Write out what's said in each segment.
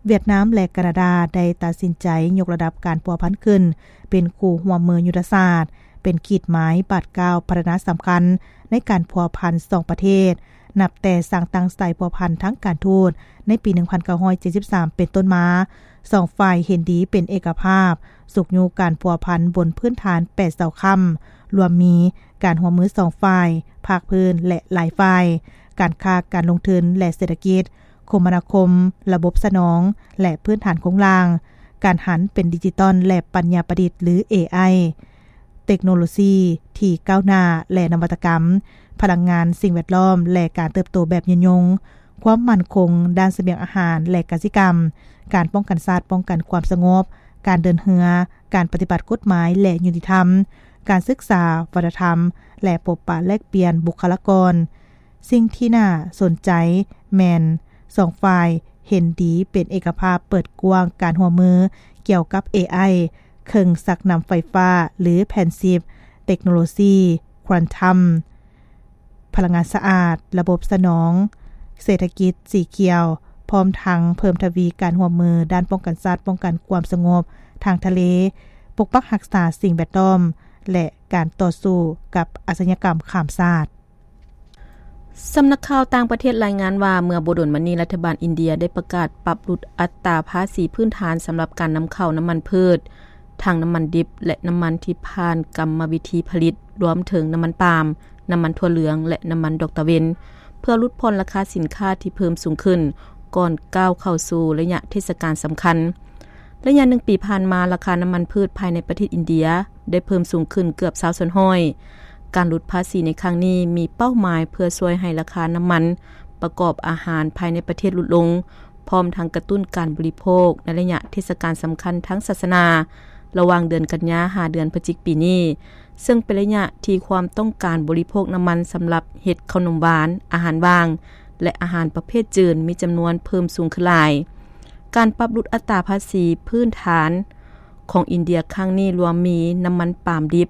ຫວຽດນາມ ແລະ ການາດາ ໄດ້ຕັດສິນໃຈຍົກລະດັບການພົວພັນຂຶ້ນເປັນຄູ່ຮ່ວມມືຍຸດທະສາດ, ເປັນຂີດໝາຍບາດກ້າວພັດທະນາສຳຄັນໃນການພົວພັນສອງປະເທດ, ນັບແຕ່ສ້າງຕັ້ງສາຍພົວພັນທາງການທູດໃນປີໜຶ່ງພັນເກົ້າຮ້ອຍເຈັດສິບສາມເປັນຕົ້ນມາ, ສອງຝ່າຍເຫັນດີເປັນເອກະພາບ, ຊຸກຍູ້ການພົວພັນບົນພື້ນຖານແປດເສົາຄ້ຳ, ລວມມີການຮ່ວມມືສອງຝ່າຍ, ພາກພື້ນ ແລະ ຫຼາຍຝ່າຍ, ການຄ້າ, ການລົງທຶນ ແລະ ເສດຖະກິດ, ຄົມມະນາຄົມ, ລະບົບສະໜອງ ແລະ ພື້ນຖານໂຄງລ່າງ, ການຫັນເປັນດິຈິຕອນ ແລະ ປັນຍາປະດິດ ຫຼື ເອໄອ, ເຕັກໂນໂລຊີທີ່ກ້າວໜ້າ ແລະ ນະວັດຕະກຳ, ພະລັງງານ, ສິ່ງແວດລ້ອມ ແລະ ການເຕີບໂຕແບບຍືນຍົງ, ຄວາມໝັ້ນຄົງດ້ານສະບຽງອາຫານ ແລະ ກະສິກຳ, ການປ້ອງກັນຊາດ, ປ້ອງກັນຄວາມສະຫງົບ, ການເດີນເຮືອ, ການປະຕິບັດກົດໝາຍ ແລະ ຍຸຕິທຳ, ການສຶກສາ, ວັດທະນະທຳ ແລະ ພົບປະແລກປ່ຽນບຸກຄະລາກອນ. ສິ່ງທີ່ໜ້າສົນໃຈແມ່ນ ສອງຝ່າຍເຫັນດີເປັນເອກະພາບເປີດກວ້າງການຮ່ວມມືກ່ຽວກັບເອໄອ, ເຄື່ອງຊັກນ້ຳໄຟຟ້າ ຫຼື ແຜ່ນຊິບ, ເຕັກໂນໂລຊີຄວອນຕັມ, ພະລັງງານສະອາດ, ລະບົບສະໜອງ, ເສດຖະກິດສີຂຽວ, ພ້ອມທັງເພີ່ມທະວີການຮ່ວມມືດ້ານປ້ອງກັນຊາດ, ປ້ອງກັນຄວາມສະຫງົບທາງທະເລ, ປົກປັກຮັກສາສິ່ງແວດລ້ອມ ແລະ ການຕໍ່ສູ້ກັບອາຊະຍາກຳຂ້າມຊາດ. ສຳນັກຂ່າວຕ່າງປະເທດລາຍງານວ່າ ເມື່ອບໍ່ດົນມານີ້ ລັດຖະບານອິນເດຍໄດ້ປະກາດປັບຫຼຸດອັດຕາພາສີພື້ນຖານສຳລັບການນຳເຂົ້ານ້ຳມັນພືດ, ທັງນ້ຳມັນດິບ ແລະ ນ້ຳມັນທີ່ຜ່ານກຳມະວິທີຜະລິດ, ລວມເຖິງນ້ຳມັນປາມ, ນ້ຳມັນຖົ່ວເຫຼືອງ ແລະ ນ້ຳມັນດອກຕາເວັນ, ເພື່ອຫຼຸດຜ່ອນລາຄາສິນຄ້າທີ່ເພີ່ມສູງຂຶ້ນ ກ່ອນກ້າວເຂົ້າສູ່ໄລຍະເທດສະການສຳຄັນ. ໄລຍະໜຶ່ງປີຜ່ານມາ, ລາຄານ້ຳມັນພືດພາຍໃນປະເທດອິນເດຍໄດ້ເພີ່ມສູງຂຶ້ນເກືອບຊາວສ່ວນຮ້ອຍ. ການຫຼຸດພາສີໃນຄັ້ງນີ້ມີເປົ້າໝາຍເພື່ອຊ່ວຍໃຫ້ລາຄານ້ຳມັນປະກອບອາຫານພາຍໃນປະເທດຫຼຸດລົງ, ພ້ອມທັງກະຕຸ້ນການບໍລິໂພກໃນໄລຍະເທດສະການສຳຄັນທາງສາສະໜາ ລະຫວ່າງເດືອນກັນຍາຫາເດືອນພະຈິກປີນີ້, ເຊິ່ງເປັນໄລຍະທີ່ຄວາມຕ້ອງການບໍລິໂພກນ້ຳມັນສຳລັບເຮັດເຂົ້າໜົມຫວານ, ອາຫານຫວ່າງ ແລະ ອາຫານປະເພດຈືນມີຈຳນວນເພີ່ມສູງຂຶ້ນຫຼາຍ. ການປັບຫຼຸດອັດຕາພາສີພື້ນຖານຂອງອິນເດຍຄັ້ງນີ້ລວມມີນ້ຳມັນປາມດິບ,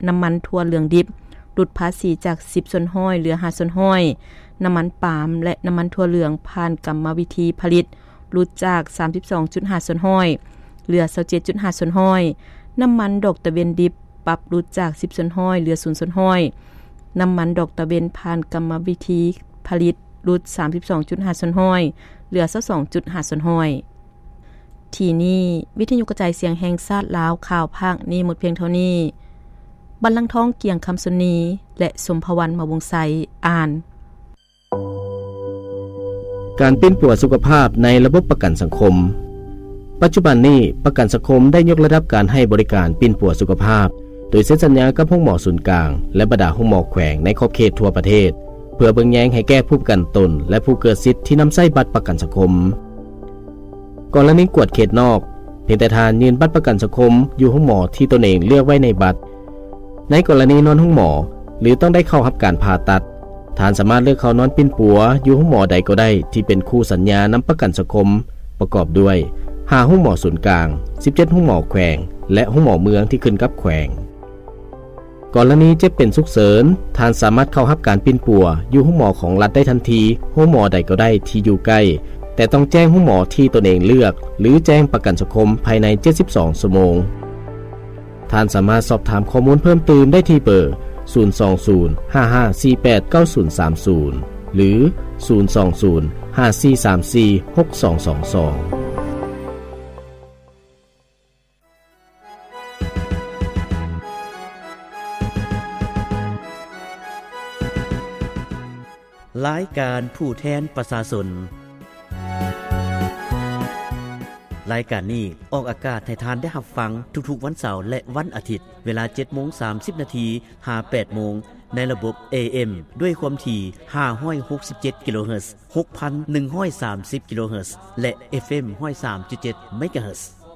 ນ້ຳມັນຖົ່ວເຫຼືອງດິບ ຫຼຸດພາສີຈາກສິບສ່ວນຮ້ອຍເຫຼືອຫ້າສ່ວນຮ້ອຍ, ນ້ຳມັນປາມ ແລະ ນ້ຳມັນຖົ່ວເຫຼືອງຜ່ານກຳມະວິທີຜະລິດ ຫຼຸດຈາກສາມສິບສອງຈຸດຫ້າສ່ວນຮ້ອຍເຫຼືອຊາວເຈັດຈຸດຫ້າສ່ວນຮ້ອຍ, ນ້ຳມັນດອກຕາເວັນດິບປັບຫຼຸດຈາກສິບສ່ວນຮ້ອຍເຫຼືອສູນສ່ວນຮ້ອຍ, ນ້ຳມັນດອກຕາເວັນຜ່ານກຳມະວິທີຜະລິດ ຫຼຸດສາມສິບສອງຈຸດຫ້າສ່ວນຮ້ອຍເຫຼືອຊາວສອງຈຸດຫ້າສ່ວນຮ້ອຍ. ທີ່ນີ້ ວິທະຍຸກະຈາຍສຽງແຫ່ງຊາດລາວ ຂ່າວພາກນີ້ໝົດພຽງເທົ່ານີ້. ບັນລັງທອງ ກຽງຄຳຊົນນີ ແລະ ສົມພະວັນ ມະວົງໄຊ ອ່ານ. ການປິ່ນປົວສຸຂະພາບໃນລະບົບປະກັນສັງຄົມ. ປັດຈຸບັນນີ້ ປະກັນສັງຄົມໄດ້ຍົກລະດັບການໃຫ້ບໍລິການປິ່ນປົວສຸຂະພາບ ໂດຍເຊັນສັນຍາກັບໂຮງໝໍສູນກາງ ແລະ ບັນດາໂຮງໝໍແຂວງໃນຂອບເຂດທົ່ວປະເທດ ເພື່ອເບິ່ງແຍງໃຫ້ແກ່ຜູ້ປະກັນຕົນ ແລະ ຜູ້ເກີດສິດທີ່ນຳໃຊ້ບັດປະກັນສັງຄົມ. ກໍລະນີກວດເຂດນອກ, ພຽງແຕ່ທ່ານຍື່ນບັດປະກັນສັງຄົມຢູ່ໂຮງໝໍທີ່ຕົນເອງເລືອກໄວ້ໃນບັດ. ໃນກໍລະນີນອນໂຮງໝໍ ຫຼື ຕ້ອງໄດ້ເຂົ້າຮັບການຜ່າຕັດ, ທ່ານສາມາດເລືອກເຂົ້ານອນປິ່ນປົວຢູ່ໂຮງໝໍໃດກໍໄດ້ທີ່ເປັນຄູ່ສັນຍານຳປະກັນສັງຄົມ ປະກອບດ້ວຍ ຫ້າໂຮງໝໍສູນກາງ, ສິບເຈັດໂຮງໝໍແຂວງ ແລະ ໂຮງໝໍເມືອງທີ່ຂຶ້ນກັບແຂວງ. ກໍລະນີເຈັບເປັນສຸກເສີນ, ທ່ານສາມາດເຂົ້າຮັບການປິ່ນປົວຢູ່ໂຮງໝໍຂອງລັດໄດ້ທັນທີ, ໂຮງໝໍໃດກໍໄດ້ທີ່ຢູ່ໃກ້, ແຕ່ຕ້ອງແຈ້ງໂຮງໝໍທີ່ຕົນເອງເລືອກ ຫຼື ແຈ້ງປະກັນສັງຄົມພາຍໃນເຈັດສິບສອງຊົ່ວໂມງ. ທ່ານສາມາດສອບຖາມຂໍ້ມູນເພີ່ມຕື່ມໄດ້ທີ່ເບີ ສູນສອງສູນ ຫ້າຫ້າສີ່ແປດ ເກົ້າສູນສາມສູນ ຫຼື ສູນສອງສູນ ຫ້າສີ່ສາມສີ່ ຫົກສອງສອງສອງ. ລາຍການຜູ້ແທນປະຊາຊົນ. ລາຍການນີ້ອອກອາກາດໃຫ້ທ່ານໄດ້ຮັບຟັງທຸກໆວັນເສົາ ແລະ ວັນອາທິດ ເວລາເຈັດໂມງສາມສິບນາທີ ຫາ ແປດໂມງ ໃນລະບົບ ເອເອັມ ດ້ວຍຄວາມຖີ່ ຫ້າຮ້ອຍຫົກສິບເຈັດ ກິໂລເຮີດ, ຫົກພັນໜຶ່ງຮ້ອຍສາມສິບ ກິໂລເຮີດ ແລະ ເອຟເອັມ ຮ້ອຍສາມຈຸດເຈັດ ເມກາເຮີດ.